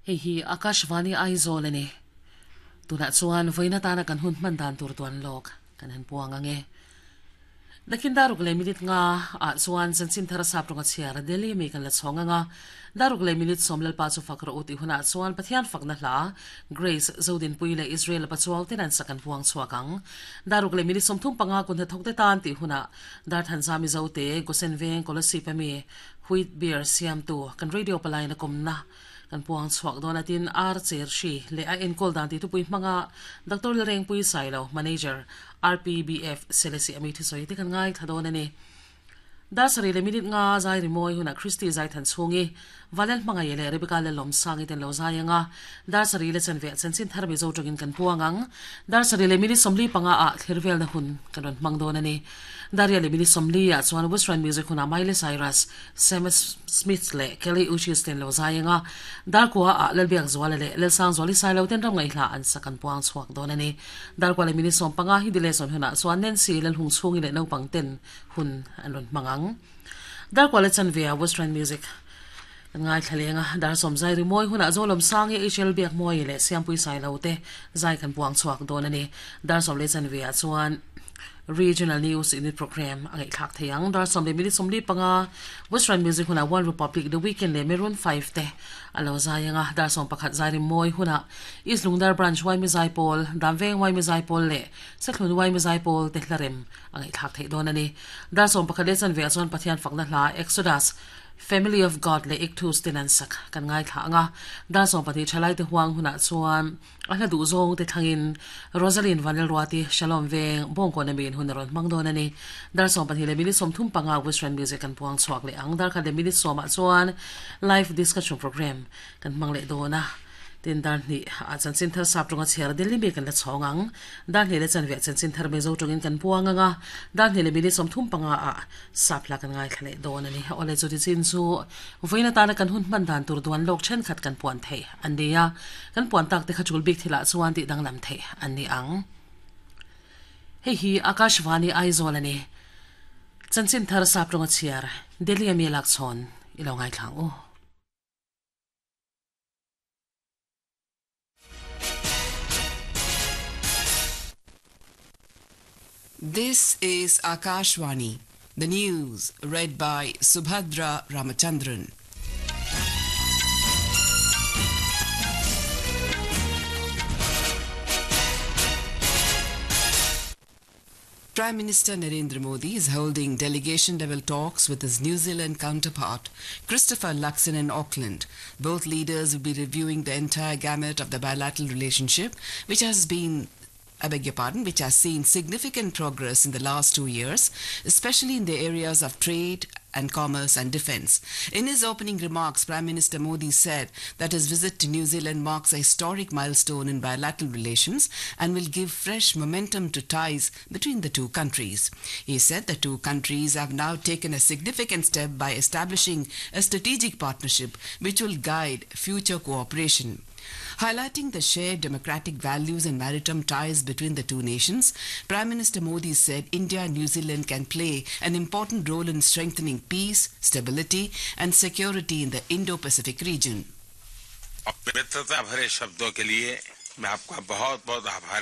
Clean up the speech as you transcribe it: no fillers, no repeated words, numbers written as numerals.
Hei hi Akashvani Aizawl a ni. Tunah chuan vawiin atana kan hun hman dan tur tuan lawk kan han puang ang e. Nakin daruk leh minute nga ah chuan chanchin thar sap rawnga chhiar Delhi mi kan la chhawng ang a. Daruk leh minute sawm Lalpa chu fak rawh u tih hunah chuan Pathian fakna hla Grace Zodinpui leh Israel Pachuau ten an sak an puang chhuak ang. Daruk leh minute 35 kun hnathawk te tan tih hunah Darthanza Mizote Gosen Veng Kolasib ami Wheat Beer siamtu kan radio palaina kawmna Kan puang chhuak dawn a tin Ar Cher Hri leh a enkawl dan tih thupui hmanga Doctor Lalrengpui Sailo, Manager, RPBF, Selesih ami thusawi te kan ngaithla dawn a ni. Dar sarih leh minute nga zai rimawi hunah Christy zai than chhungi Valel Hmangaih leh Rebecca Lellawmsangi ten lo zai ang a, dar sarih leh chanve chanchin thar Mizo tawngin kan puang ang. Dar sarih leh minute 45 ah thlir velna hun kan rawn hmang dawn a ni. Daria leh minute 40 ah chuan Western Music hunah Miley Cyrus, Sam Smith leh Kelly Uchis ten lo zai anga Darkua ah Lalbiak Zuala leh Lelsang Zuali Sailo ten ram ngaihla an sak an puang chhuak dawn a ni. Darkua leh minute 15 hi delay zawn hunah chuan Nancy Lalhung chhungi leh naupang ten hun an rawn hmang ang. Darkua leh chanve ah Western Music kan ngaithla leng a, dar sawm zai rimawi hunah Zolawm Sangi, HL Biakmawii leh Siampui Sailo te zai kan puang chhuak dawn a ni. Dar sawm leh chanve ah chuan Regional News Unit Programme a ngaihthlak thei ang. Dar sawm leh minute 45 Western Music hunah One Republic, The Weeknd leh Maroon 5 te a lo zai ang a. Dar 11 zai rimmawi hunah East Lungdar Branch Yma Zaipawl, Damveng Yma Zaipawl leh Sethlun Yma Zaipawl te hlarem a ngaihthlak theih dawn a ni. Dar 11 leh chanve ah chuan Pathian fakna hla Exodus, Family of God leh Ichthus ten an sak kan ngaithla ang a. Dar 12 thalaite huang hunah chuan A hla duh zawng te thlangin Rosaline Vanlalruati, Shalom Veng, Bawngkawn ami in hun a rawn hmang dawn a ni. Dar 12 leh minute 35 Western Music kan puang chhuak leh ang. Dar khat leh minute 10 ah chuan Live Discussion Programme kan hmang leh dawn a. Tin dar hnih ah chanchin thar sap tawnga chhiar Delhi mi kan la chhawng ang. Dar hnih leh chanve ah chanchin thar Mizo tawngin kan puang ang a. Dar hnih leh minute 35 ah sap hla kan ngaithla leh dawn a ni. Awle chuti chin chu vawiin atana kan hun hman dan tur duan lawk thenkhat kan puan theih an ni a, kan puan tak te kha chul bik thilah chuan tih danglam theih an ni ang. Hei hi Akashvani Aizawl a ni. Chanchin thar sap tawnga chhiar Delhi ami a lak chhawn i lo ngaithla ang u. This is Akashvani, the news read by Subhadra Ramachandran. Prime Minister Narendra Modi is holding delegation-level talks with his New Zealand counterpart, Christopher Luxon in Auckland. Both leaders will be reviewing the entire gamut of the bilateral relationship, which has been I beg your pardon, which has seen significant progress in the last 2 years, especially in the areas of trade and commerce and defense. In his opening remarks, Prime Minister Modi said that his visit to New Zealand marks a historic milestone in bilateral relations and will give fresh momentum to ties between the two countries. He said the two countries have now taken a significant step by establishing a strategic partnership which will guide future cooperation. Highlighting the shared democratic values and maritime ties between the two nations, Prime Minister Modi said India and New Zealand can play an important role in strengthening peace, stability and security in the Indo-Pacific region. मित्रता भरे शब्दों के लिए मैं आपका बहुत बहुत आभार